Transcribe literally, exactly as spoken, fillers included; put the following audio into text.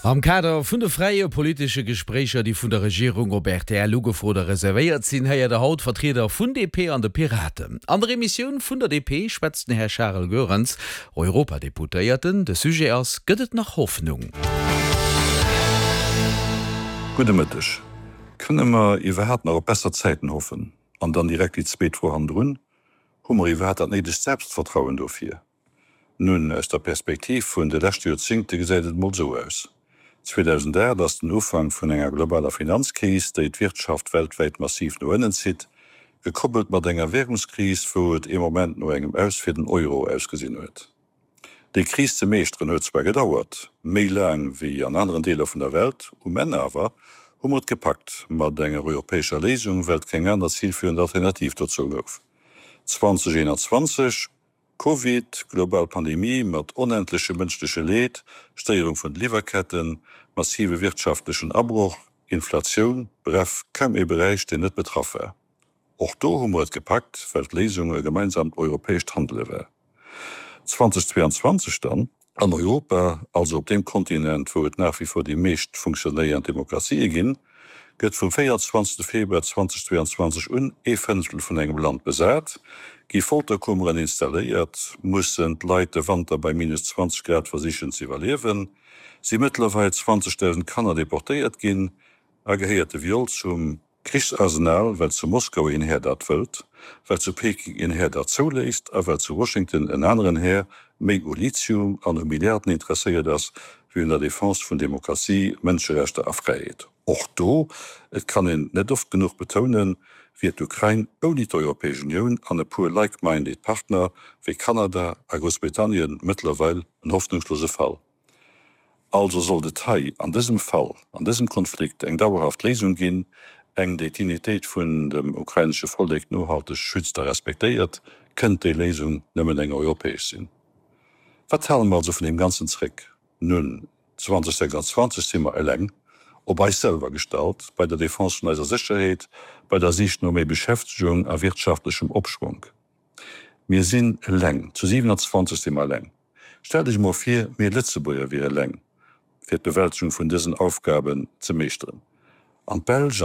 Am Kader vun de fräie politesche Gespréicher, déi vun der Regierung op R T L ugefrot a reservéiert sinn, héiert der haut Vertrieder vun D P an de Piraten. An der Emissioun vun der D P schwätzt den Här Charles Goerens, Europadeputéierten. De Sujet ass: Gëtt et nach Hoffnung? Gudde Mëtteg. Kënne mer iwwerhaapt nach op besser Zäiten hoffen? An dann direkt déi zweet Fro hannendrun: Hu mer iwwerhaapt dat néidegt Selbstvertrauen dofir? Nun, aus der Perspektiv vun de leschte Joerzéngte gesäit et mol sou aus. zweedausendaacht ass den Ufank vun enger globaler Finanzkris, déi d'Wirtschaft weltwäit massiv no ënnen zitt, gekoppelt mat enger Wärungskris, wou et ee Moment no engem Aus fir den Euro ausgesinn huet. Déi Kris ze meeschteren huet zwar gedauert, méi laang wéi an aneren Deeler vun der Welt, um Enn awer hu mer et gepackt mat enger europäescher Léisung, well et keng aner zilféierend Alternativ dozou gouf. zweedausendeenanzwanzeg, Covid, global Pandemie mat onendlechem mënschleche Leed, Stéierung vun de Liwwerketten, massive wirtschaftlechen Abroch, Inflatioun, bref, kaum ee Beräich, deen net betraff war. Och do hu mer et gepackt, well d'Léisung e gemeinsamt europäescht Handele war. zweedausendzweianzwanzeg dann, an Europa, also op deem Kontinent, wou et nach wie vor déi meescht funktionéierend Demokratië ginn, gëtt vum véierundzwanzegste Februar zweedausendzweianzwanzeg un ee Fënneftel vun engem Land besat, gi Folterkummeren installéiert, mussen d'Leit de Wanter bei minus zwanzeg Grad versichen ze iwwerliewen, si mëttlerweil zwanzegdausend Kanner deportéiert ginn a gehéiert de Viol zum Krichsarsenal, well zu Moskau een Här dat wëllt, well zu Peking een Här dat zouléisst a well zu Washington en aneren Här méi u Lithium an u Milliarden interesséiert ass, wéi un der Defense vun Demokratie, Mënscherechter a Fräiheet. Och do, et kann een net oft genuch betounen, wier d'Ukrain ouni d'Europäesch Unioun an e puer like-minded Partner wéi Kanada a Groussbritannien mëttlerweil en hoffnungslose Fall. Also sollt et hei an dësem Fall, an dësem Konflikt eng dauerhaft Léisung ginn, eng déi d'Dignitéit vun dem ukrainesche Vollek nohalteg schützt a respektéiert, kënnt déi Léisung nëmmen eng europäesch sinn. Wat hale mer also vun deem Ganzen zréck? Nun, zweedausendsechsanzwanzeg si mer eleng, op eis selwer gestallt, bei der Defense vun eiser Sécherheet, bei der Sich no méi Beschäftegung a wirtschaftlechem Opschwonk. Mir sinn eleng, zu siewenanzwanzeg si mer eleng. Stellt Iech mol vir, mir Lëtzebuerger wieren eleng, fir d'Bewältegung vun dësen Aufgaben ze meeschteren. An d'Belsch